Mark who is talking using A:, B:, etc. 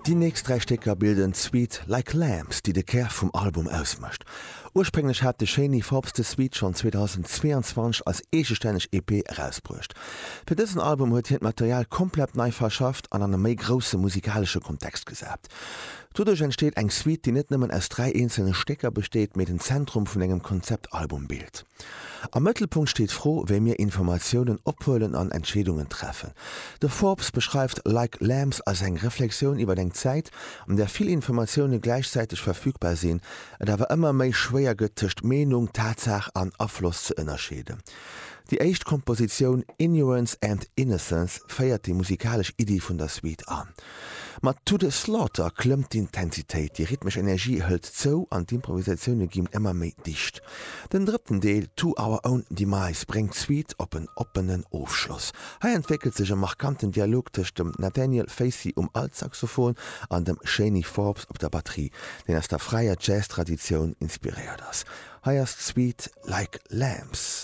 A: Déi nächst 3 Stécker bilden d'Suite Like Lambs, déi de Kär vum Album ausmécht. Ursprénglech hat de Shani Forbes des Suite schonn 2022 als eegestänneg EP erausbruecht. Fir dësen Album huet hien d'Material komplett nei verschafft an an e méi grousse musikalesche Kontext gesat. Doduerch entsteet eng Suite, déi net nëmmen aus 3 eenzelne Stécker besteet, mee den Zentrum vun engem Konzeptalbum bilt. Am Mëttelpunkt steet d'Fro, wéi mir Informatiounen ophuelen an Entscheedungen treffen. De Forbes beschreift Like Lambs als eng Reflexioun iwwer eng Zäit, an där vill Informatioune gläichzäiteg verfügbar sinn, et awer ëmmer méi schwéier gëtt tëscht Meenung, Tatsaach an Afloss ze ënnerscheeden. Déi éischt Kompositioun Ignorance and Innocence féiert déi musikalesch Iddi vun der Suite an. Mat To the Slaughter klëmmt d'Intensitéit, déi rhythmesch Energie hëlt zou an d'Improvisatioune ginn ëmmer méi dicht. Den drëtten Deel To Our Own Demise bréngt d'Suite op en oppenen Ofschloss. Hei entwéckelt sech e markanten Dialog tëscht dem Nathaniel Facey um Altsaxophon an dem Shani Forbes op der Batterie, deen aus der fräier Jazz-Traditioun inspiréiert ass. Hei ass d'Suite Like Lambs.